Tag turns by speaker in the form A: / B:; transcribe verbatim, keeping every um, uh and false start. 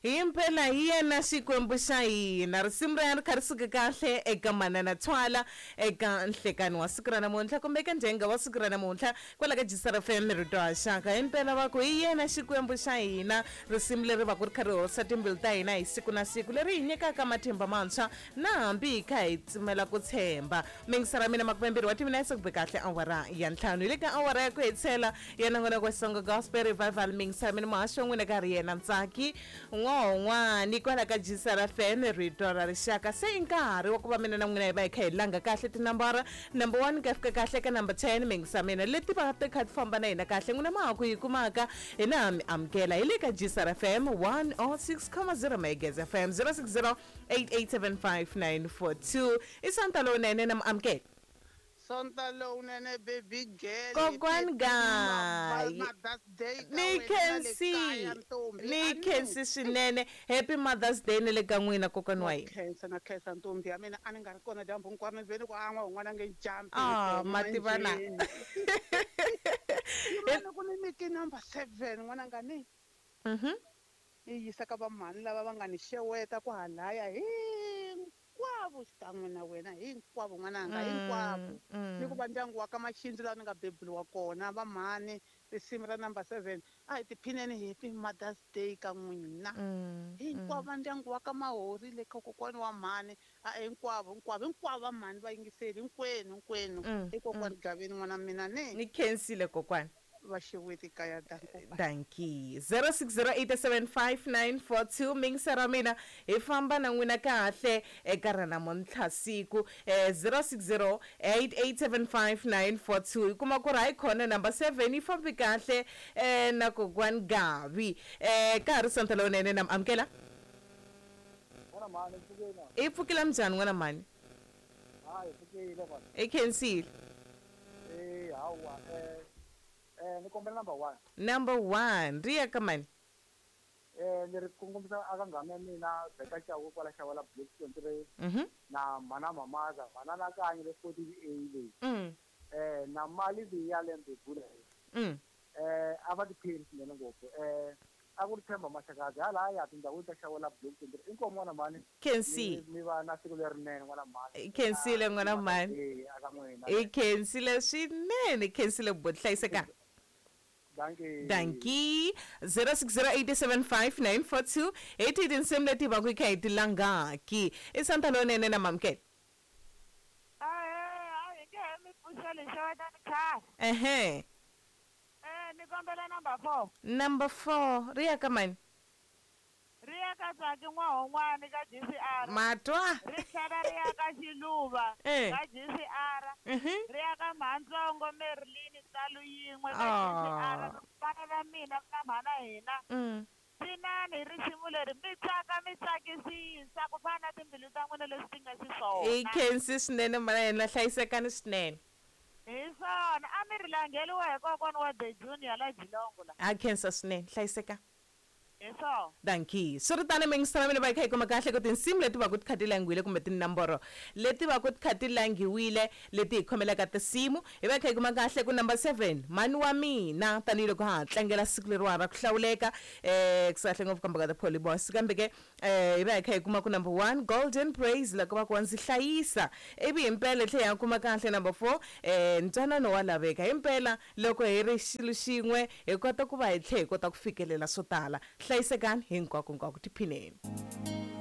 A: Himpela hi yena Xikwembu xa hina. Risimu ra yena ri kha ri suka kahle eka Manana Thwala eka nhlekani wa siku ra namuntlha kumbe eka ndzhenga wa siku ra namuntlha kwala ka G S R F M rito ha xaka. Himpela va ku hi yena Xikwembu xa hina. Risimu leri va ku ri kha ri horisa timbilu ta hina hi siku na siku, leri hi nyikaka matimba mantshwa na hambi hi kha hi tsimela ku tshemba. Mingisara mina makumembirhi wa timinetse ku be kahle awara ya ntlhanu. Hi le ka awara ya ku hetisela ya nongonoko wa Xitsonga Gospel Revival. Mingisara mina muhaxi wa n'wina ka ri yena Ntsaki N'wan'wani kwala ka G S R F M rito ra rixaka. Se i nkarhi wa ku va mina na n'wina hi va hi kha hi langa kahle tinambara number one ka fika kahle ka number ten. Mingisa mina leti va ti kha ti famba na hina kahle, n'wina ma ha ku yi kumaka hina mi amukela hi le ka G S R F M one oh six comma zero Megahertz F M zero six zero eight eight seven five nine four two. I Sonta lowunene na mi amukela.
B: Sonta lowunene baby girl.
A: Kokwani guy.
B: Mother's Day.
A: Ni khensi. Ni khensi swinene. Happy Mother's Day ni le ka n'wina kokwani wa hina.
B: Khensa na khensa ntombi ya mina a ni nga ri kona dyambu hinkwaro ni veni ku an'wa un'wana nge jambi.
A: Ah, mativana.
B: Yimana ku ni nyike number seven n'wana nga ni.
A: Mhm.
B: Yi yisa ka va mhani lava va nga ni xeweta ku halaya hinkwavo xikan'we na wena hinkwavo n'wananga hinkwavo. Ni ku va ndyangu wa ka Maxindzi laha ni nga beburiwa kona va mhani risimu ra number seven a hi tiphineni happy Mother's Day ka n'wina. Hinkwavo va ndyangu wa ka Mahori le ka kokwani wa mhani a hinkwavo hinkwavo hinkwavo va mhani va yingiseli hinkwenu hinkwenu. I kokwani Gaveni n'wana mina ni.
A: Ni khensile kokwani.
B: Vaxeweti kaya danko.
A: Danki. zero six zero eight seven five nine four two. Mingisara mina hi famba na n'wina kahle eka ra namuntlha siku zero six zero eight eight seven five nine four two. Hi kuma ku ri hayi khona number seven yi fambi kahle na kokwani Gavi. Ka ha ri Sonta lowunene na mi amukela. I pfukile minjhani n'wana mhani?
C: Hayi pfukile mhani.
A: I khensile.
C: Eh hawa eh Eh, ni kombela number one.
A: Number one. Ri ya ka mani?
C: Eh, ni ri kongomisa aka nghana ya mina Beka Chauke kwala Xawela Block twenty-three.
A: Mhm.
C: Na mana mamaza, mana na kanyi le forty A leyi.
A: Mm.
C: Eh, na mali leyi ya lembe bula.
A: Mm.
C: Eh, a va tiphini swinene ngopfu. Eh, a ku ri Themba Maxakazi hala ya tindhawini ta Xawela Block twenty-three. Inkomu n'wana mhani.
A: Khensi.
C: Mi va na siku lerinene n'wana mhani.
A: Khensile n'wana mhani.
C: Eh, aka n'wina.
A: I khensile swinene, khensile buti hlayiseka.
C: Dankie.
A: Dankie. zero six zero eight seven five nine four two. Hi tihi tinsimu leti va ku hi kha hi ti langaki. I Sonta lowunene na mamukela.
D: Ahee, a hi nge he mi pfuxeli xewetani khale.
A: Ehe.
D: Eh, ni kombela number four.
A: Number four. Ri ya ka mani?
D: Ri ya ka Tsaki N'wahon'wani ka G C R.
A: Matwa.
D: Ri tlhela ri ya ka Xiluva
A: Eh.
D: ka G C R.
A: Mhm.
D: Ri ya ka Mhantsongo Merlin Ntsalo yin'we ka G C R.
A: Ah.
D: Vana va mina na mhana hina.
A: Mm.
D: Cinani risimu leri mi tsaka mi tsakisisa ku fana na timbilu ta n'wina leswi ti nga
A: I
D: xiswona.
A: khensi swinene mhana hina hlayisekani swinene.
D: Hi swona a mi ri langeriwa hi kokwani wa The Junior la Jilongo la.
A: A khensa swinene hlayiseka.
D: Hi swona.
A: Dankie. Swi ri tano mingisela mina va hi kha hi kuma kahle ku tinsimu leti va ku ti kha ti langiwile kumbe tinamboro leti va ku ti kha ti langiwile leti hi khomelaka tinsimu hi va hi kha hi kuma kahle ku number seven mhani wa mina tanihiloko ha ha tlangela siku leriwa ra ku hlawuleka eh ku sahle ngopfu kambe ka the Poly Boys kambe ke eh hi va hi kha hi kuma ku number one Golden Praise loko va ku wa ndzi hlayisa ivi himpela hi tlhela hi ya kuma kahle number four eh ntwanano wa laveka himpela loko hi ri xilo xin'we hi kota ku va hi tlhela hi kota ku fikelela swo tala. Hlayisekani hinkwako hinkwako tiphineni.